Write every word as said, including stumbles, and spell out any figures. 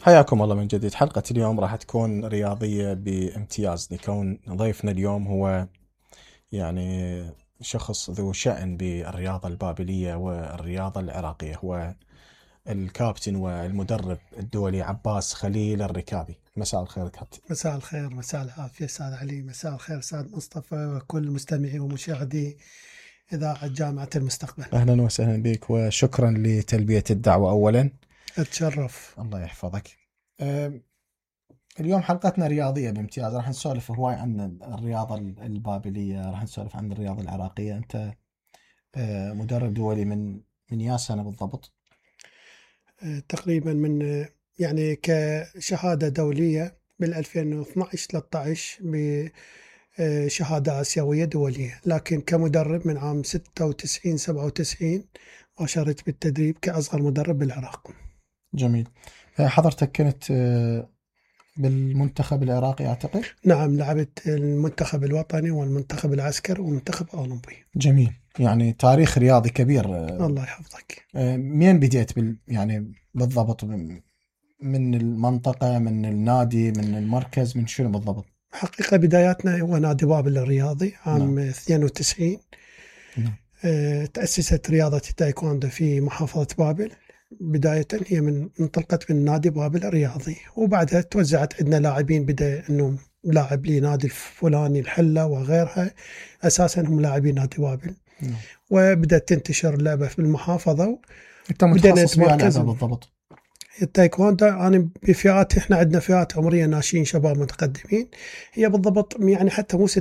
حياكم الله من جديد. حلقة اليوم راح تكون رياضية بامتياز، لكون ضيفنا اليوم هو يعني شخص ذو شأن بالرياضة البابلية والرياضة العراقية. هو الكابتن والمدرب الدولي عباس خليل الركابي. مساء الخير كابتن. مساء الخير، مساء العافية استاذ علي، مساء الخير استاذ مصطفى وكل مستمعي ومشاهدي إذاعة جامعة المستقبل. أهلا وسهلا بك وشكرا لتلبية الدعوة. أولا أتشرف. الله يحفظك. أه اليوم حلقتنا رياضية بامتياز، راح نسولف هواي عن الرياضة البابلية، راح نسولف عن الرياضة العراقية. أنت أه مدرب دولي من من يا سنة بالضبط؟ أه تقريبا من يعني كشهادة دولية بال ألفين واثنعش ثلاثة عشر بشهادة آسيوية دولية، لكن كمدرب من عام ستة وتسعين سبعة وتسعين وشاركت بالتدريب كأصغر مدرب بالعراق. جميل. حضرتك كنت بالمنتخب العراقي أعتقد؟ نعم، لعبت المنتخب الوطني والمنتخب العسكري ومنتخب أولمبي. جميل، يعني تاريخ رياضي كبير. الله يحفظك. مين بديت بال يعني بالضبط؟ من المنطقة، من النادي، من المركز، من شنو بالضبط؟ حقيقة بداياتنا هو نادي بابل الرياضي عام نعم. اثنين وتسعين. نعم. أه تأسست رياضة التايكوندو في محافظة بابل. بداية هي من انطلقت من نادي بابل الرياضي، وبعدها توزعت عندنا لاعبين، بدأ انه لاعب لي نادي الفلاني الحلة وغيرها، اساسا هم لاعبين نادي بابل. نعم. وبدأت تنتشر اللعبة في المحافظة. انت متخصص في لعبة بالضبط؟ التايكوندو أنا بفئات، إحنا عندنا فئات عمرية ناشئين شباب متقدمين. هي بالضبط يعني حتى مو ستة